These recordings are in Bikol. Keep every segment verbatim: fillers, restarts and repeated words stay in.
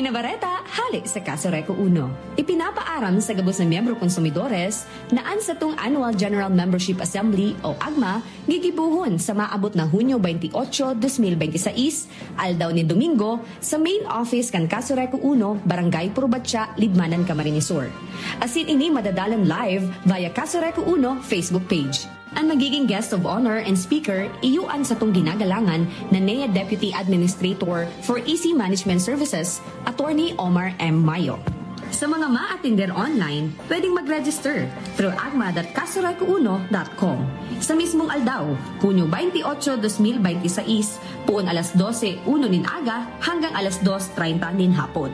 Na bareta, hale sa Kaso Reco Uno. Ipinapaaram sa gabos na miyembro konsumidores na an satong Annual General Membership Assembly o agma gigibohon sa maabot na Hunyo twenty-eight, twenty twenty-six, aldaw nin Domingo, sa main office kan Kaso Reco Uno, Barangay Purbatya, Libmanan, Camarines Sur. Asin ini madadalan live via Kaso Reco Uno Facebook page. An magiging guest of honor and speaker, iyo an satong ginagalangan na N E A Deputy Administrator for E C Management Services, Attorney Omar M. Mayo. Sa mga maatender online, pwedeng mag-register through agma dot kasoreco uno dot com. Sa mismong aldaw, Hunyo twenty-eight, twenty twenty-six, puon alas dose uno nin aga hanggang alas dos treinta nin hapon.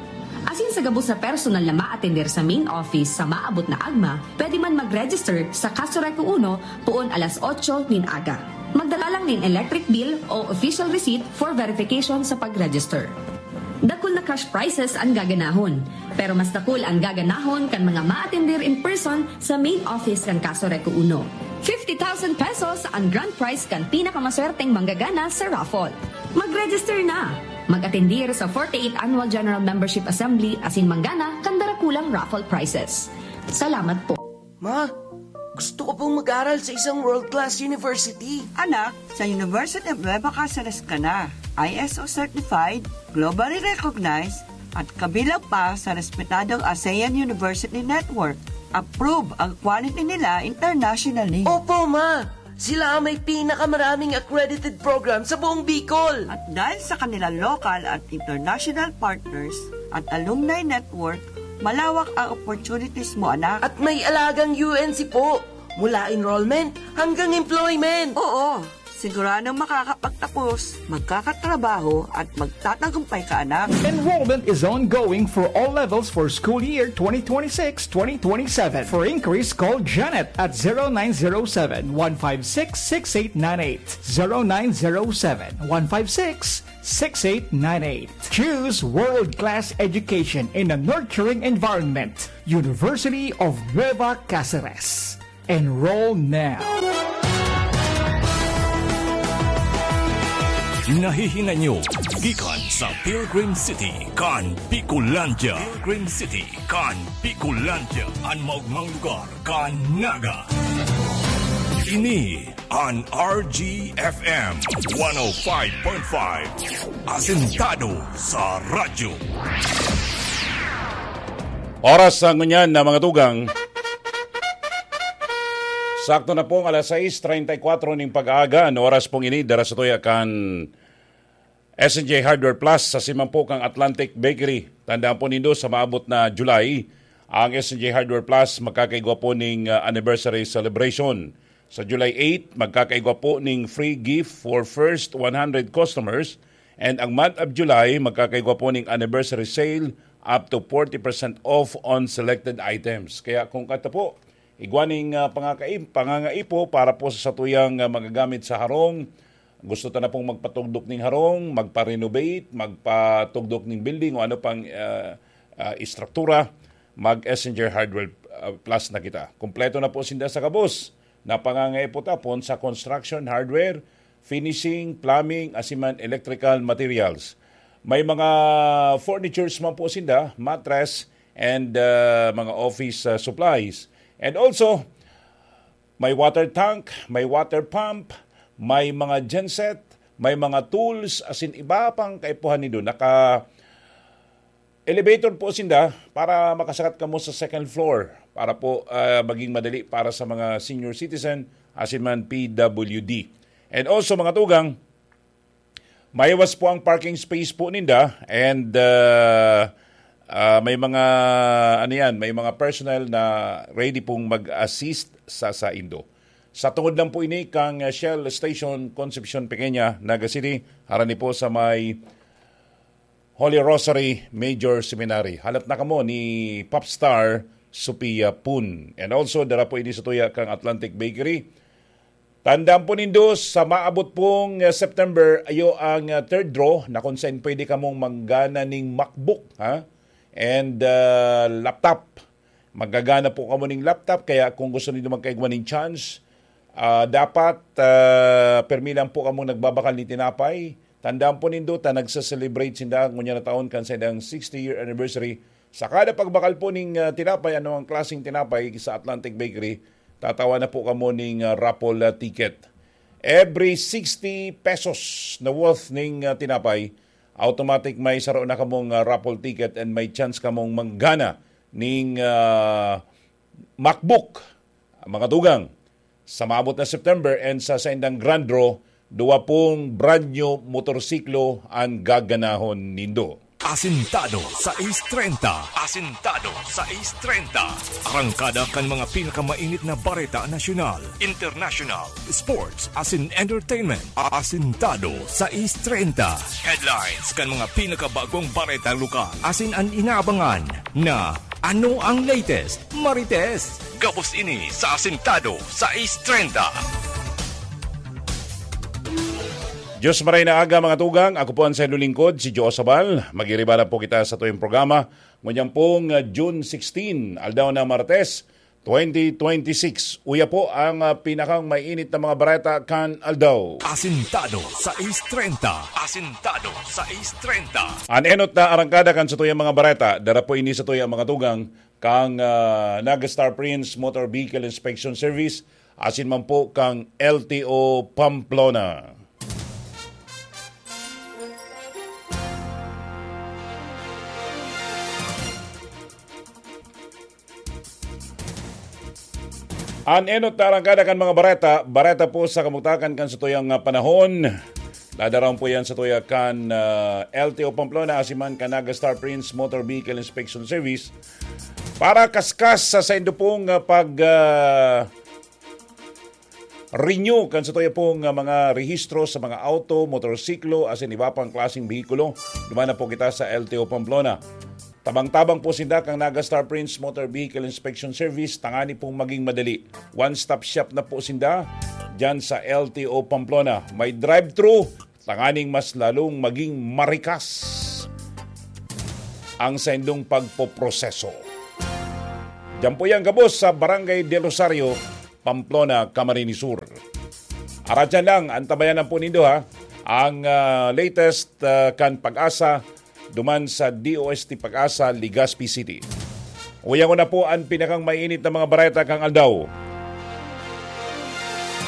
Asin sa gabos na personal na maatender sa main office sa maabot na agma, pwede man mag-register sa Kaso Reco Uno puon alas otso nin aga. Magdala lang nin electric bill o official receipt for verification sa pag-register. Dakul na cash prizes an gaganahon, pero mas dakul an gaganahon kan mga maatender in person sa main office kan Kaso Reco Uno. Fifty thousand pesos an grand prize kan pinakamaswerteng manggagana sa raffle. Mag-register na! Mag-atendir sa forty-eighth Annual General Membership Assembly asin manggana kan darakulang raffle prizes. Salamat po. Ma, gusto ko pong mag-aral sa isang world-class university. Anak, sa University of Nueva Caceres ka na. I S O certified, globally recognized, at kabilang pa sa respetadong ASEAN University Network. Approve ang quality nila internationally. Opo, ma! Sila ang may pinakamaraming accredited program sa buong Bicol. At dahil sa kanilang local at international partners at alumni network, malawak ang opportunities mo, anak. At may alagang U N C po, mula enrollment hanggang employment. Oo, siguradong makakapagtapos, magkakatrabaho at magtatagumpay ka, anak. Enrollment is ongoing for all levels for school year twenty twenty-six twenty twenty-seven. For inquiries, call Janet at zero nine zero seven, one five six, six eight nine eight. Zero nine zero seven, one five six, six eight nine eight. Choose world-class education in a nurturing environment. University of Nueva Caceres. Enroll now. Nahihinay nyo gikan sa Pilgrim City kan Bicolandia. Pilgrim City kan Bicolandia, an maogmang lugar kan Naga. Ini an R G F M one oh five point five, asentado sa radyo. Oras sa ngunyan na mga tugang. Sakto na pong alas sais treinta y cuatro ning pag-aaga, an oras pong ini, dara sa tuya kan S N J Hardware Plus, sa siman po kang Atlantic Bakery. Tandaan po nindo, sa maabot na July, ang S N J Hardware Plus magkakaigwa po ning, ah, anniversary celebration. Sa July eight, magkakaigwa po ning free gift for first one hundred customers. And ang month of July, magkakaigwa po ning anniversary sale up to forty percent off on selected items. Kaya kung kato po, igwa ning, ah, pangakaim-, pangangaipo para po sa satuyang, ah, magagamit sa harong. Gusto ta na pong magpatugdok ning harong, magpa-renovate, magpatugdok ning building o ano pang, ah, ah, istruktura, mag-S N J Hardware, ah, Plus na kita. Kompleto na po sinda sa gabos na pangangaipo tapon sa construction, hardware, finishing, plumbing, asin man electrical materials. May mga furnitures man po sinda, mattress, and, ah, mga office, ah, supplies. And also, may water tank, may water pump, may mga genset, may mga tools, asin iba pang kaipuhan nindo. Naka elevator po sinda para makasakat kamo sa second floor para po, ah, maging madali para sa mga senior citizen, asin man P W D. And also, mga tugang, maiwas po ang parking space po ninda and, ah, ah, may mga, ano yan, may mga personnel na ready pong mag-assist sa saindo. Sa tungod lang po ini kang Shell Station, Concepcion Pequeña, Naga City, harani po sa may Holy Rosary Major Seminary. Halat na kamo ni Popstar Sophia Pun. And also, dara po ini sa tuya kang Atlantic Bakery. Tandaan po nindo, sa maabot pong, eh, September, ayo ang, eh, third draw na kung saan pwede kamong manggana ning MacBook, ha? And, ah, laptop. Magagana po kamo ning laptop, kaya kung gusto nindo magkaigwa ning chance, ah, dapat, ah, permi lang po kamong nagbabakal ni tinapay, Tandaan po nindo ta nagse-celebrate sinda ngunyan na taon kan saindang sixty-year anniversary. Sa kada pagbakal po ning, ah, tinapay, anumang klaseng tinapay sa Atlantic Bakery, tatawa na po kamo ning, ah, raffle, ah, ticket. Every sixty pesos na worth ning, ah, tinapay, automatic may saro na kamong, ah, raffle ticket and may chance kamong manggana ning, ah, MacBook, mga tugang. Sa maabot na September and sa saindang grand draw, duwa pong brand new motorsiklo an gaganahon nindo. Asintado sais treinta. Asintado sais treinta. Arangkada kan mga pinakamainit na bareta nasyonal, international, sports, asin entertainment. Asintado sais treinta. Headlines kan mga pinakabagong bareta lokal. Asin an inaabangan na ano ang latest, Marites? Gabos ini sa Asintado sais treinta. Diyos maray na aga, mga tugang. Ako po ang saindong lingkod, si Joe Sabal. Mag-iriba na po kita sa tuyong programa. Ngunyan pong, ah, June sixteen, aldaw na Martes, twenty twenty-six. Uya po ang, ah, pinakang mainit na mga bareta kan aldaw. Asintado sais treinta. Asintado sais treinta. An enot na arangkada kan satuyang mga bareta, dara po ini satuyang mga tugang, kang, ah, Naga Star Prince Motor Vehicle Inspection Service, asin man po kang L T O Pamplona. An enot na arangkada kan mga bareta, bareta po sa kamugtakan kan satuyang, ah, panahon. Dadarawon po yan satuya kan, ah, L T O Pamplona, asin man kan Naga Star Prince Motor Vehicle Inspection Service. Para kaskas sa saindo pong, ah, pag, ah, renew kan satuya pong, ah, mga rehistro sa mga auto, motorsiklo, asin iba pang klaseng behikulo, duman na po kita sa L T O Pamplona. Tabang-tabang po sinda kan Naga Star Prince Motor Vehicle Inspection Service, tangani pong maging madali. One-stop shop na po sinda diyan sa L T O Pamplona. May drive-thru, tanganing mas lalong maging marikas ang saindong pagpoproseso. Diyan po yan gabos sa Barangay Del Rosario, Pamplona, Camarines Sur. Aratyan lang, antabayan lang po nindo, ha, ang, ah, latest, ah, kan Pag-asa duman sa D O S T Pag-asa, Legazpi City. Uya ko na po an pinakang mainit na mga bareta kan aldaw.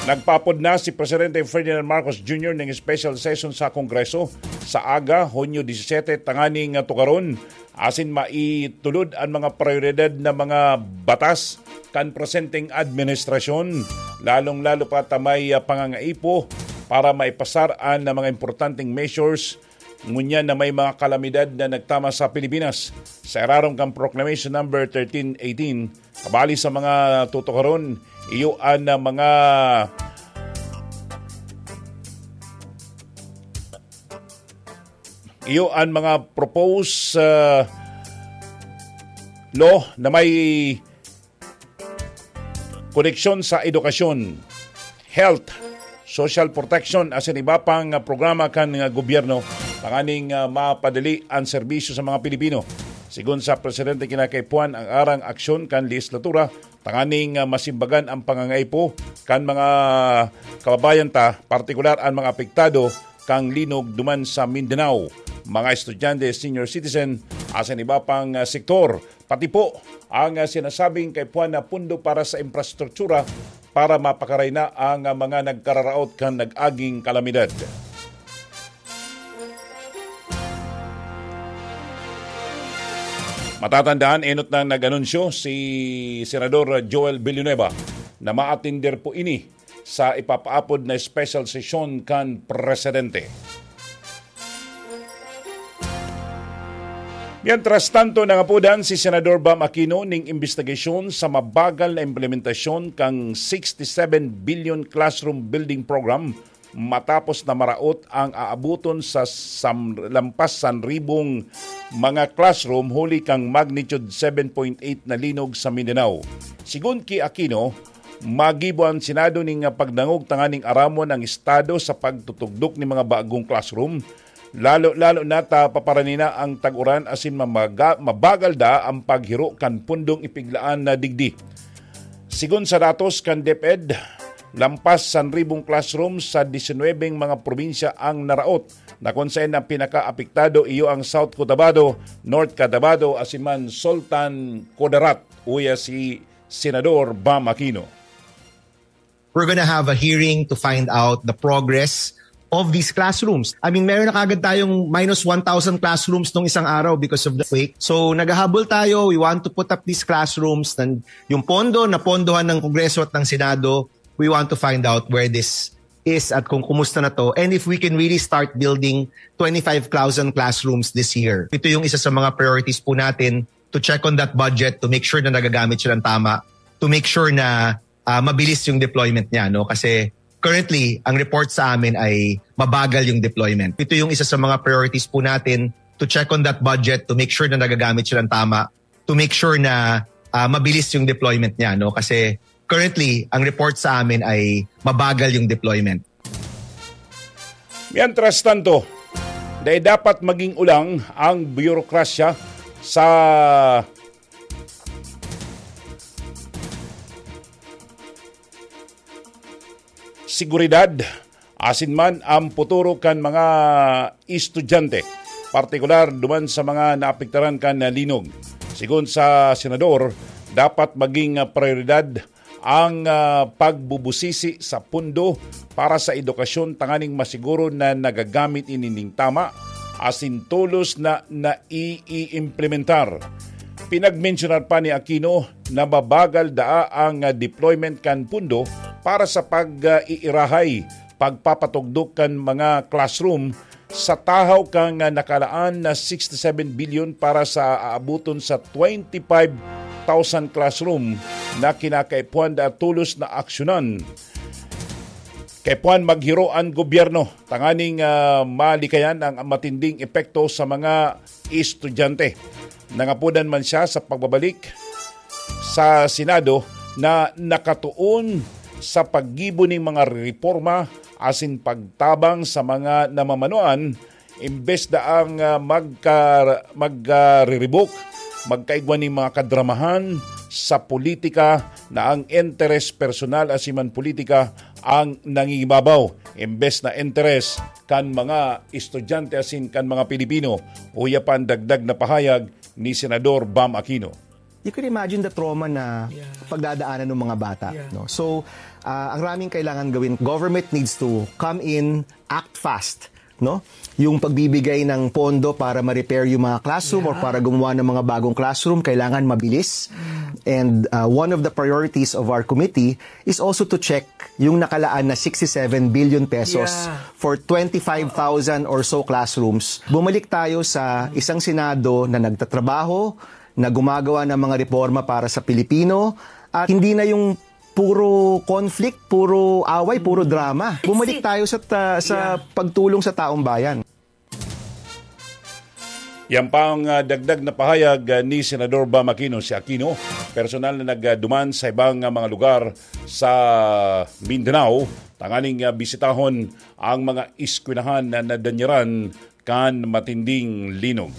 Nagpaapod na si Presidente Ferdinand Marcos Junior ning special session sa Kongreso sa aga, Hunyo disisete, tanganing tukaron asin maitulod an mga prayoridad na mga batas kan presenteng administrasyon, lalong-lalo pa ta may, ah, pangangaipo para maipasar an mga importanteng measures ngunyan na may mga kalamidad na nagtama sa Pilipinas. Sa irarom kan Proclamation Number thirteen eighteen, kabali sa mga tutukaron, iyo an, ah, mga, iyo an mga proposed, ah, law na may koneksyon sa edukasyon, health, social protection, asin iba pang, ah, programa kan, ah, gobyerno, tanganing, ah, mapadali an serbisyo sa mga Pilipino. Sigon sa presidente, kinakaipuhan ang arang aksyon kan lehislatura tanganing, ah, masimbagan ang pangangaipo kan mga kababayan ta, partikular an mga apektado kan linog duman sa Mindanao, mga estudyante, senior citizen, asin iba pang, ah, sektor. Pati po ang, ah, sinasabing kaipuhan na pundo para sa infrastruktura para mapakaray na ang, ah, mga nagkararaot kan nag-aging kalamidad. Matatandaan, enot nang nag-anunsyo si Senador Joel Villanueva na maatender po ini sa ipapaapod na special sesyon kan presidente. Mientras tanto, nangapodan si Senador Bam Aquino ning imbestigasyon sa mabagal na implementasyon kan sixty-seven billion classroom building program matapos na maraot ang aaboton sa sam-, lampas san ribong mga classroom huli kan magnitude seven point eight na linog sa Mindanao. Sigon ki Aquino, magibo an Senado ning pagdangog tanganing aramon ang estado sa pagtutugdok nin mga bagong classroom, lalo-lalo na ta paparani na ang tag-uran asin mamaga-, mabagal da ang paghiro kan pundong ipiglaan na digdi. Sigon sa datos kan DepEd, lampas san ribong classroom sa disinwebeng mga probinsya ang naraot na kun saen ang pinakaapektado iyo ang South Cotabato, North Cotabato, asin man Sultan Kudarat, uya si Senador Bam Aquino. We're gonna have a hearing to find out the progress of these classrooms. I mean, meron na kagad tayong minus one thousand classrooms nung isang araw because of the quake. So, naghahabol tayo. We want to put up these classrooms. Nan-, yung pondo, napondohan ng Kongreso at ng Senado. We want to find out where this is at kung kumusta na to. And if we can really start building twenty-five thousand classrooms this year. Ito yung isa sa mga priorities po natin, to check on that budget, to make sure na nagagamit silang tama, to make sure na ah, mabilis yung deployment niya, no? Kasi currently, ang report sa amin ay mabagal yung deployment. Ito yung isa sa mga priorities po natin, to check on that budget, to make sure na nagagamit silang tama, to make sure na ah, mabilis yung deployment niya, no? Kasi currently, ang report sa amin ay mabagal yung deployment. Mientras tanto, dai dapat maging ulang ang burokrasya sa seguridad asin man ang futuro kan mga estudyante, partikular duman sa mga naapektaran kan linog. Sigon sa senador, dapat maging prioridad ang ah, pagbubusisi sa pondo para sa edukasyon tanganing masiguro na nagagamit ini nin tama asin tolos na naiimplementar. Pinagmensyonar pa ni Aquino na mabagal daa ang ah, deployment kan pondo para sa pag-iirahay, pagpapatugdok kan mga classroom sa tahaw kan ah, nakalaan na sixty-seven billion para sa aaboton sa twenty-five thousand classroom na kinakaipuhan daa tolos na aksyonan. Kaipuhan maghiro an gobyerno tanganing ah, malikayan ang matinding epekto sa mga estudyante. Nangapodan man siya sa pagbabalik sa Senado na nakatuon sa paggibo nin mga reforma asin pagtabang sa mga namamanuan, imbes daang ah, magka-, magkariribok, magkaigwa nin mga kadramahan sa politika na ang interes personal asin man politika ang nangingibabaw, imbes na interes kan mga estudyante asin kan mga Pilipino. Uya pa ang dagdag na pahayag ni Senador Bam Aquino. You can imagine the trauma na Yeah. pagdadaanan ng mga bata. Yeah. No? So, ah, ang raming kailangan gawin. Government needs to come in, act fast. No? Yung pagbibigay ng pondo para ma-repair yung mga classroom or Yeah. para gumawa ng mga bagong classroom, kailangan mabilis. And ah, one of the priorities of our committee is also to check yung nakalaan na sixty-seven billion pesos Yeah. for twenty-five thousand or so classrooms. Bumalik tayo sa isang Senado na nagtatrabaho, na gumagawa ng mga reforma para sa Pilipino, at hindi na yung puro conflict, puro away, puro drama. Bumalik Iksi. tayo sa ta-, sa Yeah. pagtulong sa taong bayan. Yan pa ang ah, dagdag na pahayag ah, ni Senador Bam Aquino. Si Aquino, personal na nagduman sa ibang ah, mga lugar sa Mindanao, tanganing ah, bisitahon ang mga eskwelahan na nadanyaran kan matinding linog.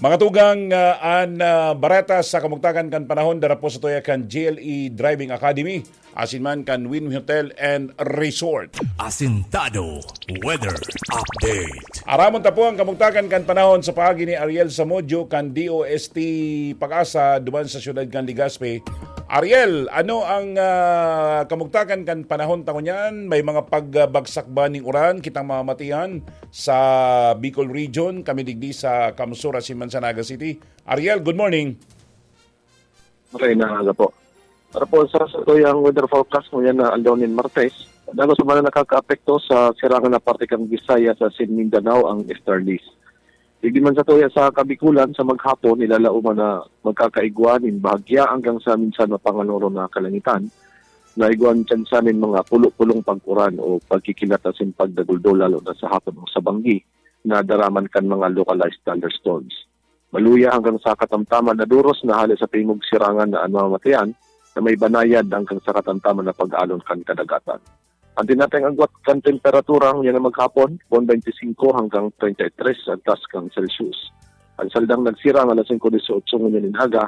Mga tugang, ah, an ah, bareta sa kamugtakan kan panahon dara po sa tuya kan G L E Driving Academy, asin man kan Win Hotel and Resort. Asintado Weather Update. Aramon ta po ang kamugtakan kan panahon sa paagi ni Ariel Samudio kan D O S T Pag-asa duman sa siyudad kan Legazpi. Ariel, ano ang ah, kamugtakan kan panahon ta ngunyan? May mga pagbagsak ba ning uran kitang mamatian sa Bicol Region, kami digdi sa Kamsur asin man sa Naga City? Ariel, good morning. Maray na aga po. Para po sa satuyang weather forecast ngunyan na aldaw nin Martes, dagos man ang nakakaapekto sa sirangan na parte kan Visayas asin Mindanao ang easterlies. Digdi man satuya sa Kabikulan, sa maghapon, nilalaoman na magkakaigwa nin bahagya hanggang sa minsan mapanganoron na kalangitan, na igwa nin tsansa nin mga pulo-pulong pag-uran o pagkikilat asin pagdaguldol, lalo na sa hapon o sa banggi, na daraman kan mga localized thunderstorms. Maluya hanggang sa katamtaman na duros na hale sa tingog sirangan na an mamamatean na may banayad hanggang sa katamtaman na pag-alon kan kadagatan. An tinatayang agwat kan temperatura ngunyan na maghapon, bon twenty-five hanggang treinta y tres an taas kan Celsius. An saldang nagsirang alas singko dieciocho ngunyan nin aga,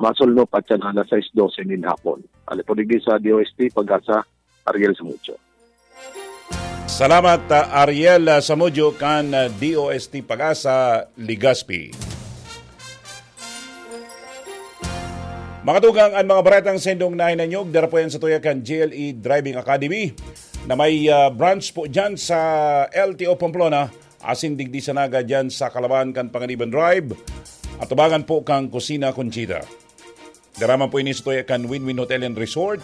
masulnop at yan alas sais dose nin hapon. Ano po digdi sa D O S T, Pag-asa, Ariel Samudio. Salamat, ah, Ariel, ah, Samudio kan, ah, D O S T Pag-asa, Legazpi. Mga tugang, an mga baretang sindong nahinanyog, dara po yan sa tuya kan G L E Driving Academy na may, ah, branch po dyan sa L T O Pamplona, asin digdi sa Naga dyan sa Kalaban kan Panganiban Drive, atubangan po kang Kusina Conchita. Dara man po ini sa tuya kan Win-Win Hotel and Resort.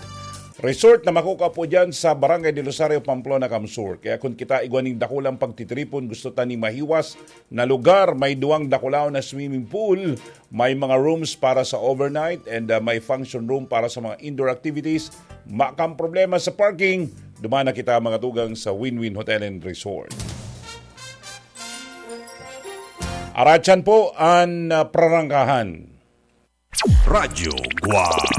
Resort na makukua po dyan sa Barangay del Rosario, Pamplona, Kamsur. Kaya kung kita igwa ning dakulang pagtitripon, gusto ta ning mahiwas na lugar, may duwang dakulaw na swimming pool, may mga rooms para sa overnight, and, ah, may function room para sa mga indoor activities. Makang problema sa parking, duman na kita mga tugang sa Win-Win Hotel and Resort. Aratyan po an, ah, prarangkahan. Radyo Guwang.